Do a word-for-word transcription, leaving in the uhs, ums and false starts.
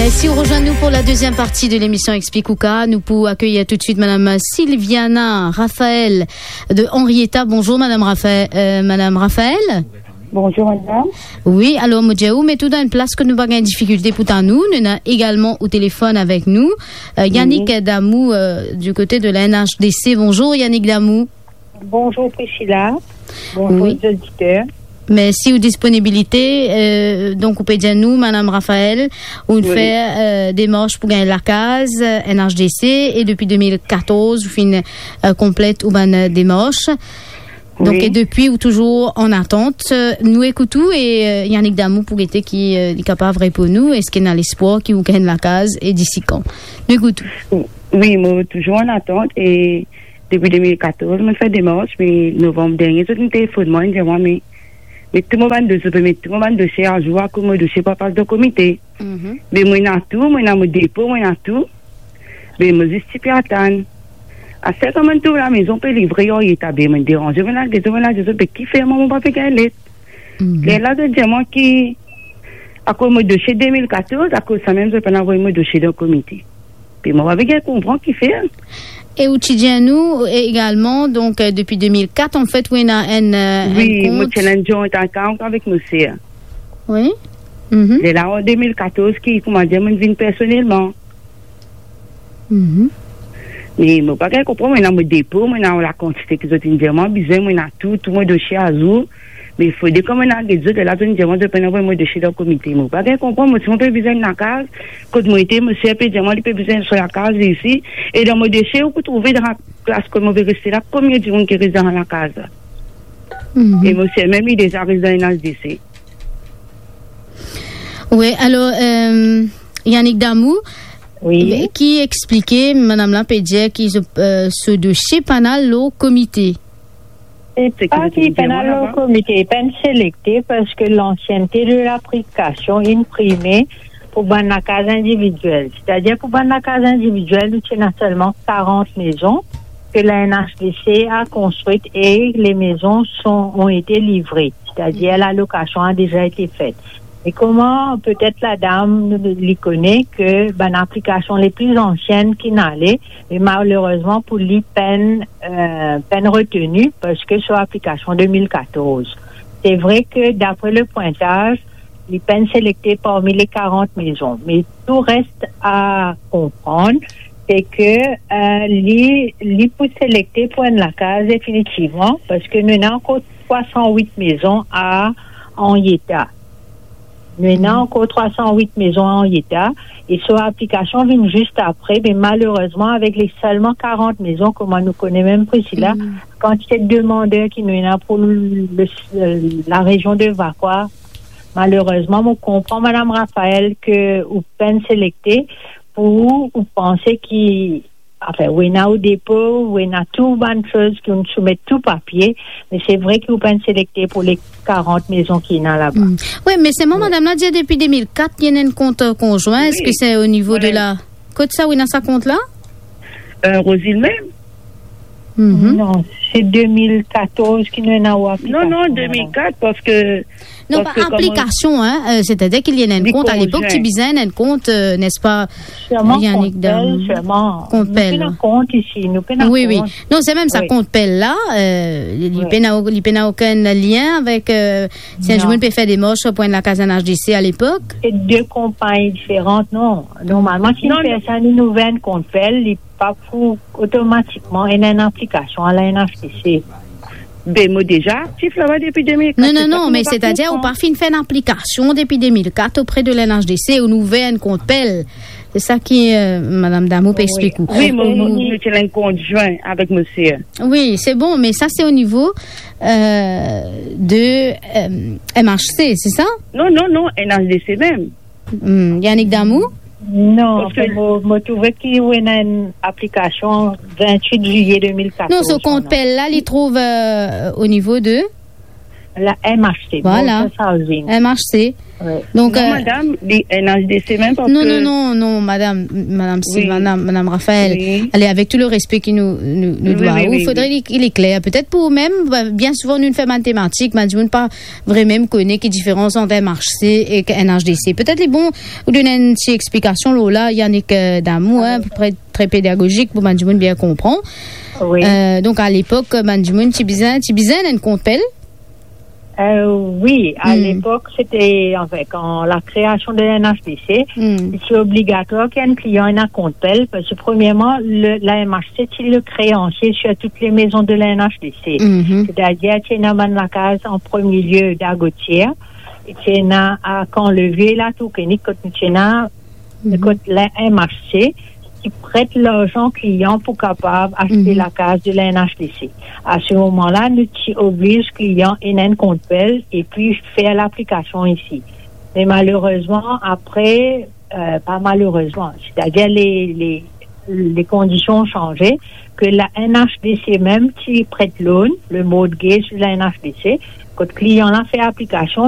Si vous rejoignez nous pour la deuxième partie de l'émission Explique ou Ka, nous pouvons accueillir tout de suite Madame Sylviana Raphaël de Henrietta. Bonjour Madame Raphaël. Euh, Madame Raphaël? Bonjour madame. Oui, alors, mo dir ou, met ou dan enn plas ke nou pa gagn difikilte pou tann ou. Nou ena egalman o telefon avek nou, euh, Yannick Damou, euh, du côté de la N H D C. Bonjour Yannick Damou. Bonjour Priscilla. Bonjour les auditeurs. Mersi ou disponibilite. Euh, donk, ou pe dir nou, Madame Raphaël, ou finn fer, euh, demars pou gagn lakaz, euh, N H D C, e depi de mil katorz, ou finn, euh, konplet ou bann, euh, demars. Donk, e depi, ou touzour an atant. Euh, nou ekout ou e, euh, Yannick Damou pou gete ki, euh, li kapav reponn nou. Eski ena lespwar ki ou gagn lakaz e disi kan? Nou ekout ou. Wi, mo touzour an atant e depi de mil katorz, mo fer demars, me novanm dernie, zot inn telefonn mwa, inn dir mwa, me, met tou mo bann dosie, met tou mo bann dosie azour, akoz mo dosie pa pas dan komite. Be mo ena tou, mo ena mo depo, mo ena tou. Be mo zis ti pe atann. Aster kan mo'nn trouv lamezon pe livre, Henrietta, be mo'nn deranze, mo'nn al get zot, mo'nn al dir zot, be kifer mwa mo pa pe gagn let? Lerla zot dir mwa ki akoz mo dosie de mil katorz, akoz samem zot pa'nn avoy mo dosie dan komite. Be mo pa pe gagn konpran kifer. E ou ti dir nou, e, egalman, donk, euh, depi de mil kat, anfet, ou ena enn, euh, enn kont. Wi, mo ti ena enn joint account avek mo ser. Wi. Lerla an de mil katorz ki, koumadir, mo'nn vinn personelman. Me mo pa gagn konpran, mo ena mo depo, mo ena lakantite ki zot inn dir mwa bizin, mo ena tou, tou mo dosie azour. Me fode kan mo'nn al get zot, lerla zot inn dir mwa zot pa'nn avoy mo dosie dan komite. Mo pa gagn konpran, mo ti mo pe bizin enn lakaz, kot mo ete, mo ser pe dir mwa li pe bizin so lakaz isi, e dan mo dosie ou pou trouve dan laplas kot mo pe reste la, konbien dimoun ki res dan lakaz la. E mo ser mem li deza res dan N H D C. Wi, alor, euh, Yannick Damou, wi, ki explike, madam la pe dir ki so, euh, so dosie pa'nn al lor komite. Se pa ki pa'nn al lor komite, pa'nn selekte, parski lansiennte de laplikasion inn prime pou bann lakaz individiel. Setadir pou bann lakaz individiel, nou ti ena selman karant mezon ke la N H D C a konstrit e les maisons sont, ont été livrées. Setadir lalokasion a deza ete fet. E kouma petet ladam li kone ke bann aplikasion le pli ansienn ki'nn ale, e malerezman pou li pa'nn, euh, pa'nn reteni, parski so aplikasion de mil katorz. Se vre ke dapre le pwintaz, li pa'nn selekte parmi le karant mezon, me tou res a konprann, se ke, euh, li, li pou selekte pou enn lakaz definitivman, parski nou ena ankor trwa san wit mezon a Henrietta. Nou ena ankor trwa san wit mezon a Henrietta, e so aplikasion vinn zis apre, me malerezman, avek le selman karant mezon, kouma nou kone mem Priscilla, kantite de demander ki nou ena pou le, larezion de Vacoas, malerezman, mo konpran, madam Raphaël, ke ou pa'nn selekte pou ou panse ki, anfin, ou ena ou depo, ou ena tou bann soz ki ou'nn soumet tou papie, me se vre ki ou pa'nn selekte pou le karant mezon ki ena laba. Wi, me selman madam la dir depi de mil kat, li ena enn kont, euh, konzwin. Eski se o nivo de la, kot sa ou ena sa kont la? Euh, Roseville mem. Non, se de mil katorz ki nou ena ou aplikasion. Non, non, de mil kat, parski Non, pa aplikasion, hein, euh, setadir ki li ena enn kont, alepok ti bizin enn kont, euh, n'est-ce pas, Yannick Damou? Sirman kont pel, sirman. Kont pel. Nou pena kont isi, nou pena kont. Wi, wi. Non, se mem sa, kont pel la, euh, li, li pena, li pena okenn lien avek, euh, si enn dimoun pe fer demars pou enn lakaz N H D C alepok. Se de konpagni diferan, non. Normalman, si enn personn inn ouver enn kont pel, li pa pou otomatikman ena enn aplikasion a la N H D C. Be mo deza aktif laba depi de mil kat. Non, non, non, me setadir ou pa finn fer enn aplikasion depi de mil kat opre de la N H D C, ou'nn ouver enn kont pel. Se sa ki, euh, madam Damou pe explik ou. Wi, mo, mo, nou ti ena enn kont zwin avek mo ser. Wi, se bon, me sa se o nivo, euh, de, euh, M H C, se sa? Non, non, non, N H D C mem. Hmm, Yannick Damou? Non, parski mo, mo trouve ki ou ena enn aplikasion vintwit zilye de mil katorz. Non, so kont pel la, li trouv, euh, o nivo de? La M H C, voilà. Motor Housing. M H C. Donk, non, euh, madam, li N H D C mem, parski... Non, non, non, non, madam, madam Sylvana, madam Raphaël, ale, avek tou le respe ki nou, nou, nou dwa ou, fodre li, li kler. Petet pou ou mem, bien souvan nou fer matematik, bann dimoun pa vremem kone ki diferans ant M H C ek N H D C. Petet li bon ou donn enn ti explikasion lor la, Yannick, euh, Damour, hein, pou pre-, tre pedagozik pou bann dimoun bien konpran. Euh, donk, a lepok, bann dimoun ti bizin, ti bizin enn kont pel. Euh, wi, a lepok, se te, anfin, kan la kreasion de la N H D C, se obligatwar ki enn klian ena kont pel, parski, premierman, le, la M H C ti le kreansie sir tout le mezon de la N H D C. Setadir, ti ena bann lakaz an premie lie Dagotier, e ti ena a Kan Levie, Latour Koenig, kot nou ti ena, kot la M H C ti pret larzan klian pou kapav aste lakaz de la N H D C. A se moman la, nou ti obliz klian ena enn kont pel epi fer laplikasion isi. Me malerezman, apre, euh, pa malerezman, setadir le, le, le kondision sanze, ke la N H D C mem ti pret loan, le mortgage de la N H D C, kot klian la fer aplikasion,